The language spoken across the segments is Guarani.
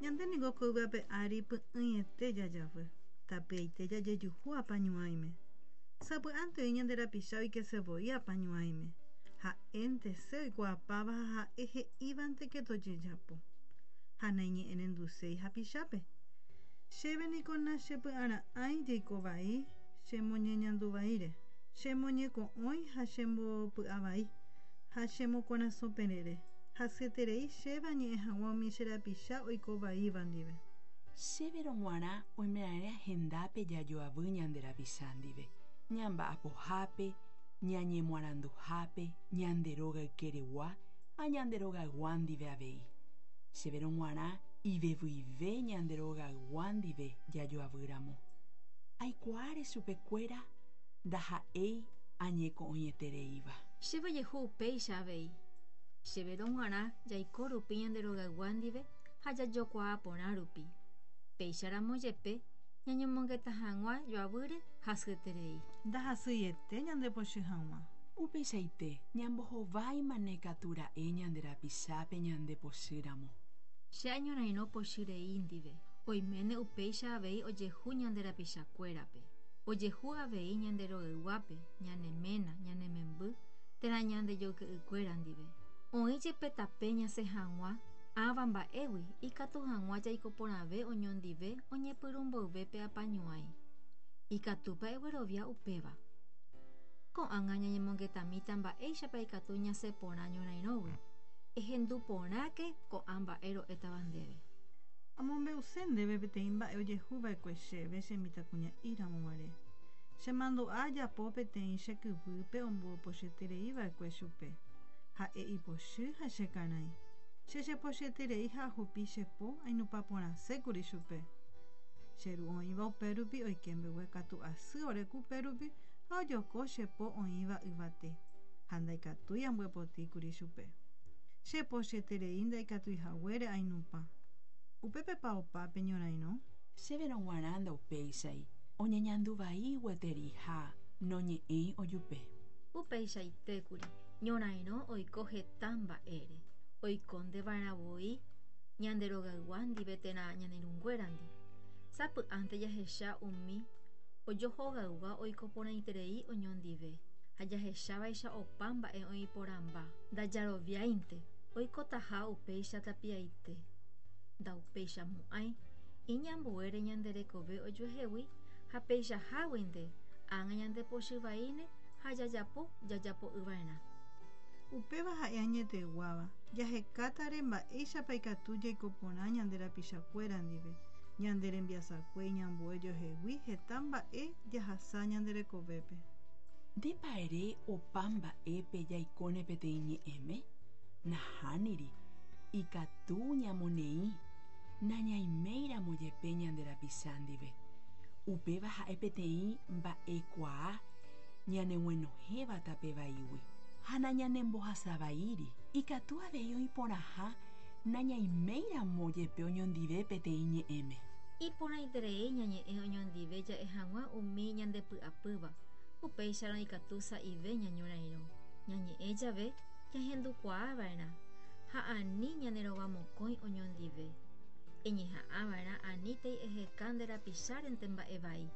Ñande ningo ko yvy ape ári py'ỹiete jajavy, tapiaite jajejuhu apañuãime. Sapy'ánte oĩ ñande rapicha oikese voi apañuãime, ha'éntese oikuaapáva ha ha'e he'ívanteke tojejapo. Ha naiñe'ẽrenduséi hapichápe. Chéve niko nachepy'ara'ãi jeiko vai chemoñeñandu vaíre, chemoñeko'õi ha chembopy'avai, ha chemokorasõ perere. Hasyeterei chéve añe'ẽ hag̃ua umi che rapicha oiko vaíva ndive. Chéverõ g̃uarã oimeraẽ hendápe jajoavy ñande rapicha ndive, ñamba'apohápe, ñañemoaranduhápe, ñande róga ykeregua ha ñande rogaygua ndive avei. Chéverõ g̃uarã ivevyive ñande rogaygua ndive jajoavýramo. Aikuaáre chupekuéra ndaha'éi añeko'õietereíva. Chéve ojehu upéicha avei. Chéverõ g̃uarã jaiko rupi ñande rogaygua ndive ha jajokuaa porã rupi. Péicharamo jepe ñañomongeta hag̃ua joavýre hasyeterei. Ndahasyiete ñandepochy hag̃ua. Upeichaite, ñambohováimane katu ra'e ñande rapichápe ñandepochýramo. Che añorairõ pochy rei ndive. Oiméne upéicha avei ojehu ñande rapichakuérape. Ojehu avei ñande rogayguápe, ñane ména, ñane memby térã ñande joyke'ykuéra ndive. Oĩ jepe tape ñasẽ hag̃ua ãva mba'égui ikatu hag̃ua jaiko porãve oñondive oñepyrũ mboyve pe apañuãi. Ikatúpa eguerovia upéva? Ko'ág̃a ñañemongetamíta mba'éichapa ikatu ñasẽ porã ñorairõgui. Ehendu porãke ko'ã mba'e ro'étava ndéve. Amombe'use ndéve peteĩ mba'e ojehuva'ekue chéve che mitãkuña'íramo guare. Chemandu'a ajapo peteĩ che kyvýpe ombopochyetereiva'ekue chupe. Ha'e ipochy ha chekarãi. Che chepochyeterei ha ahupi che po ainupa porãsékuri chupe. Che ru oĩva upérupi oike mbeguekatu asy ore kupérupi ha ojoko che po oĩva yvate, ha ndaikatúi ambyepotíkuri chupe. Chepochyeterei ndaikatuihaguére ainupã. Upépepa opa pe ñorairõ? Chéverõ g̃uarã ndaupéichai, oñeñandu vai gueteri ha noñe'ẽi ojupe. Upeichaitékuri, ñorairõ oiko heta mba'ére. Oikónteva'erã voi ñande rogaygua ndive térã ñane irũnguérandi. Sapy'ánte jahecha umi ojohogaygua oiko porãiterei oñondive ha jahechávaicha opa mba'e oĩ porãmba. Ndajaroviáinte oikotaha upéicha tapiaite. Ndaupeichamo'ãi iñambuére ñande rekove ojuehegui ha peichaháguinte ág̃a ñandepochy vaíne ha jajapo jajapo'ỹva'erã. Upéva ha'e añeteguáva, jahekátare mba'éichapa ikatu jaiko porã ñande rapichakuéra ndive, ñande rembiasakue iñambue ojohegui heta mba'e jahasa ñande rekovépe. Ndépa ere opa mba'épe jaikóne peteĩ ñe'ẽme? Nahániri, ikatu ñamoneĩ nañaiméiramo jepe ñande rapicha ndive. Upéva ha'e peteĩ mba'ekuaa ñaneguenohẽva tape vaígui ha nañanembohasavaíri. Ikatu avei oĩ porãha nañaiméiramo jepe oñondive peteĩ ñe'ẽme. Iporãiterei ñañe'ẽ oñondive ja'e hag̃ua umi ñandepy'apýva, upéicharõ ikatu sa'ive ñañorairõ. Ñañe'ẽ jave jahendukuaava'erã ha ani ñanerovamokõi oñondive. Eñeha'ãva'erã anítei eheka nde rapichárente mba'e vai.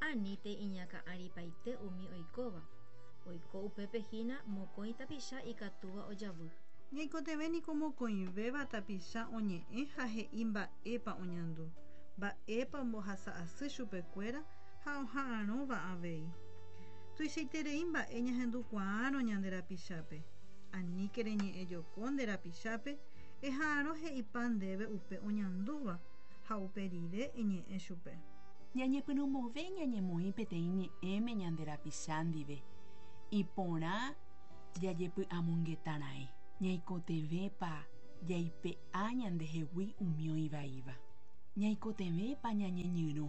Anítei iñakã'aripaite umi oikóva. Oiko upépe hína mokõi tapicha ikatúva ojavy. Ñaikotevẽ niko mokõivéva tapicha oñe'ẽ ha he'i mba'épa oñandu, mba'épa ombohasa asy chupekuéra ha oha'arõva avei. Tuichaiterei mba'e ñahendukuaárõ ñande rapichápe. Aníke reñe'ẽjoko nde rapichápe, eha'arõ he'ipa ndéve upe oñandúva ha upe rire eñe'ẽ chupe. Ñañepyrũmove ñañemoĩ peteĩ ñe'ẽme ñande rapicha ndive, iporã jajepy'amongetara'ẽ. Ñaikotevẽpa jaipe'a ñandehegui umi oĩ vaíva. Ñaikotevẽpa ñañeñyrõ,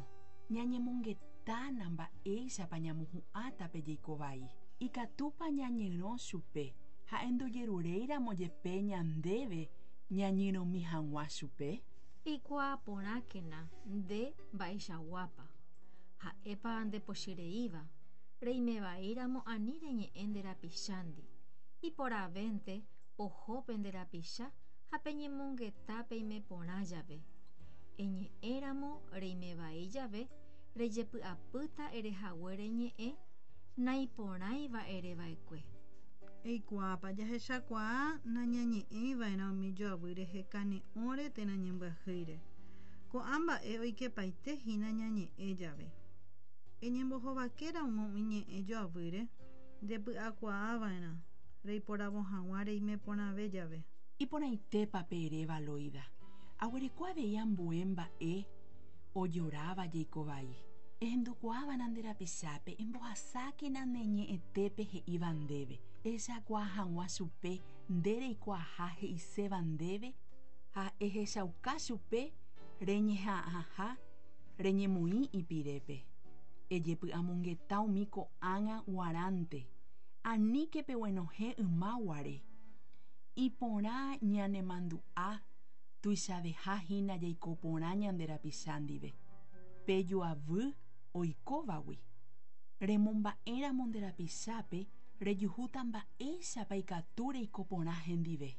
ñañemongetána mba'éichapa ñamohu'ãta pe jeiko vai. Ikatúpa ñañyrõ chupe ha'e ndojeruréiramo jepe ñandéve ñañyrõmi hag̃ua chupe? Eikuaa porãkena nde mba'eichaguápa. Ha'épa ndepochyreíva, reimevaíramo ani reñe'ẽ nde rapichándi. Iporãvénte oho pe nde rapicha ha peñemongeta peime porã jave. Eñe'ẽramo reime vai jave rejepy'apýta erehaguére ñe'ẽ naiporãiva ereva'ekue. Eikuaápa jahechakuaa nañañe'ẽiva'erã umi joavy rehe kane'õre térã ñembyahýire. Ko'ã mba'e oikepaitehína ñañe'ẽ jave. Eñembohovakéramo umi ñe'ẽ joavýre ndepy'akuaava'erã reiporavo hag̃ua reime porãve jave. Iporãitépa pe eréva Loida. Aguereko avei ambue mba'e ojoráva jeikovai. Ehendukuaáva'erã nde rapichápe embohasákena ne ñe'ẽtépe he'íva ndéve. Ehechakuaa hag̃ua chupe nde reikuaaha he'iséva ndéve ha ehechauka chupe reñeha'ãha reñemoĩ ipirépe. Ejepy'amongeta umi ko'ág̃a guarãnte, aníke peguenohẽ yma guare. Iporã ñanemandu'a tuichavehahína jaiko porã ñande rapicha ndive. Pe joavy oikóvagui. Remomba'éramo nde rapichápe rejuhúta mba'éichapa ikatu reiko porã hendive.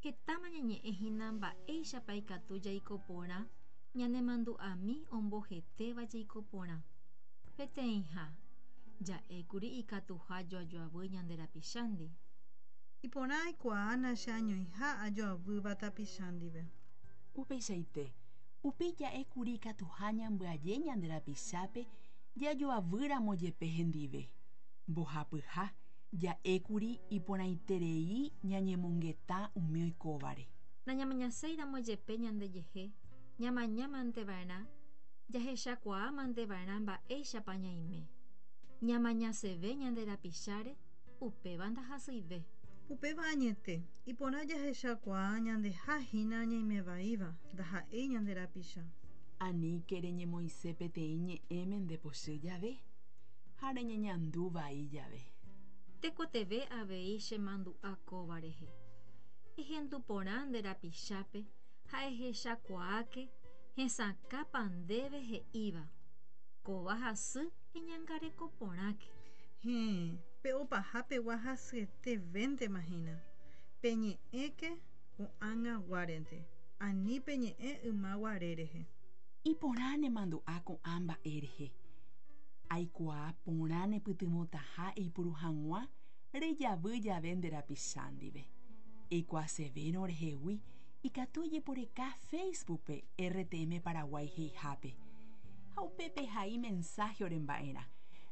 Hetáma ñañe'ẽhína mba'éichapa ikatu jaiko porã ñanemandu'ami ombohetéva jaiko porã. Peteĩha, ja'ékuri ikatuha joajoavy ñande rapichándi. Iporã aikuaa nacheañoiha ajoavýva tapicha ndive. Upeichaite, upéi ja'ékuri ikatuha ñambyaje ñande rapichápe jajoavýramo jepe hendive. Mbohapyha, ja'ékuri iporãiterei ñañemongeta umi oikóvare. Nañamañaséiramo jepe ñandejehe, ñamañamanteva'erã, jahechakuaamanteva'erã mba'éichapa ñaime. Ñamañaseve ñande rapicháre, upéva ndahasyive. Upéva añete, iporã jahechakuaa ñandehahína ñaimevaíva, ndaha'éi ñande rapicha. Aníke reñemoĩse peteĩ ñe'ẽme ndepochy jave ha reñeñandu vai jave. Tekotevẽ avei chemandu'a kóva rehe. Ehendu porã nde rapichápe ha ehechakuaáke hesakãpa ndéve he'íva. Kóva hasy eñangareko porãke. Héẽ, pe opahapegua hasyetevéntemahína. Peñe'ẽke ko'ag̃aguárente, ani peñe'ẽ yma guare rehe. Iporã nemandu'a ko'ã mba'e rehe. Aikuaa porã nepytyvõtaha eipuru hag̃ua rejavy jave nde rapicha ndive. Eikuaasevérõ rehegui ikatu ejeporeka Facebookpe RTM Paraguay he'ihápe. Ha upépe ehai mensaje oremba'erã.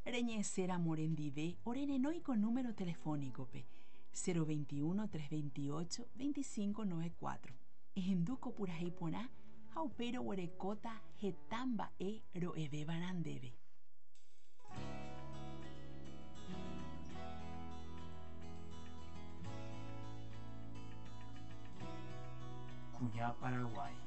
Reñe'ẽséramo orendive orerenói ko número telefónico-pe, 021 328 25 94. Ehendu ko purahéi porã ha upéi roguerekóta heta mba'e ro'evévarã ndéve. Kuña Paraguái.